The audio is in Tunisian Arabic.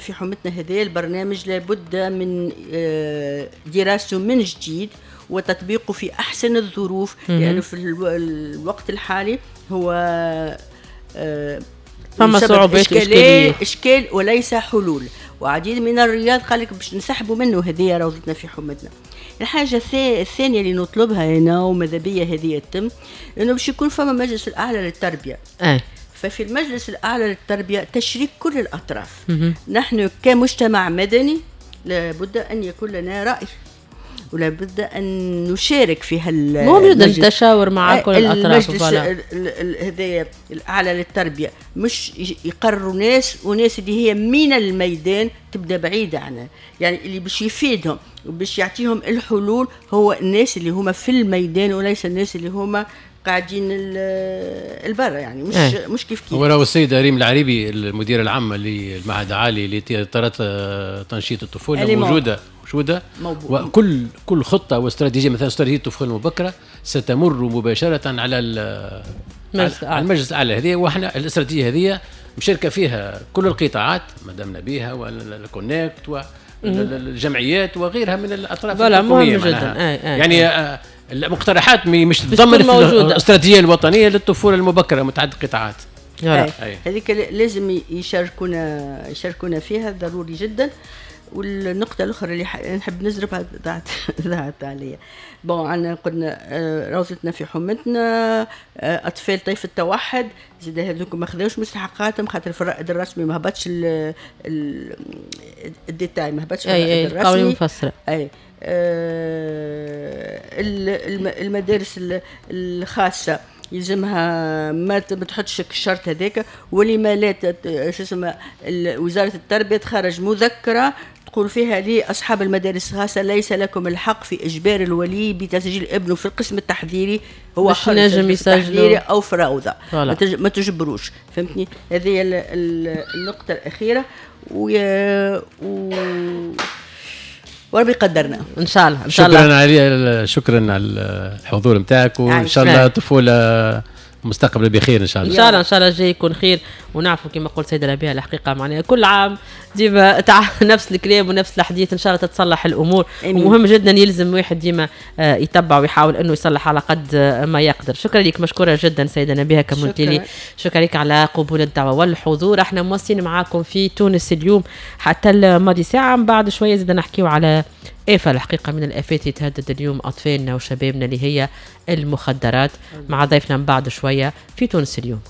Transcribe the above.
في حومتنا هذا البرنامج لابد من دراسته من جديد وتطبيقه في أحسن الظروف، لأنه في الوقت الحالي هو فما صعوبات، إشكال وليس حلول. وعديد من الرياض قال لك باش نسحبوا منه هذه روضتنا في حومتنا. الحاجة الثانية اللي نطلبها هنا وماذا بيا هذه تتم، إنه باش يكون فما مجلس الأعلى للتربية. ففي المجلس الأعلى للتربية تشريك كل الأطراف. نحن كمجتمع مدني لابد أن يكون لنا رأي، ولابد أن نشارك في مهم جدا التشاور مع كل الأطراف. المجلس هذايا الأعلى للتربية مش يقرروا ناس، وناس اللي هي من الميدان تبدأ بعيدة عنها، يعني اللي باش يفيدهم وباش يعطيهم الحلول هو الناس اللي هما في الميدان وليس الناس اللي هما قاعدين البرة، يعني مش مش كيف كيف. هو راهو السيدة ريم العريبي المديرة العامة للمعهد العالي لإطارات تنشيط الطفولة موجودة، وكل خطة واستراتيجية، مثلا استراتيجية الطفولة المبكرة ستمر مباشرة على المجلس الأعلى هذه، وإحنا الاستراتيجية هذه مشاركة فيها كل القطاعات مدام نبيها والكونكت والجمعيات وغيرها من الأطراف الحكومية. جدا. يعني المقترحات مش تتضمن في الاستراتيجية الوطنية للطفولة المبكرة متعدد القطاعات. هذيك لازم يشاركونا فيها، ضروري جدا. والنقطة الأخرى اللي نحب نزربها ضاعت عليا. bon عندنا قلنا روضتنا في حومتنا، أطفال طيف التوحد زاد هذوك ما خذاوش مستحقاتهم خاطر في الرائد الرسمي ما هبطش ال détail، ما هبطش في الرائد الرسمي المفسرة. أي المدارس الخاصة يلزمها ما تحطش الشرط هذاك، ولما لا اسمها وزارة التربية تخرج مذكرة تقول فيها لأصحاب المدارس الخاصة ليس لكم الحق في إجبار الولي بتسجيل ابنه في القسم التحضيري، هو مش نجم يسجله أو في روضة، ما تجبروش. فهمتني؟ هذه النقطة الأخيرة وربي يقدرنا ان شاء الله. ان شاء الله. شكرا علي، شكرا على الحضور نتاعك، وان شاء الله طفولة مستقبل بخير ان شاء الله. ان شاء الله، ان شاء الله الجاي يكون خير. ونعرفوا كما قلت سيده ربيع الحقيقة معناها كل عام ديما نفس الكلام ونفس الحديث، ان شاء الله تتصلح الامور. ومهم جدا يلزم واحد ديما يتبع ويحاول انه يصلح على قد ما يقدر. شكرا لك، مشكورة جدا سيده نبيهه كمونتيلي، شكرا لك على قبول الدعوة والحضور. احنا مواصلين معاكم في تونس اليوم حتى الماضي ساعة، من بعد شوية زاد نحكيو على آفة الحقيقة من الآفات اللي تهدد اليوم أطفالنا وشبابنا اللي هي المخدرات، مع ضيفنا من بعد شوية في تونس اليوم.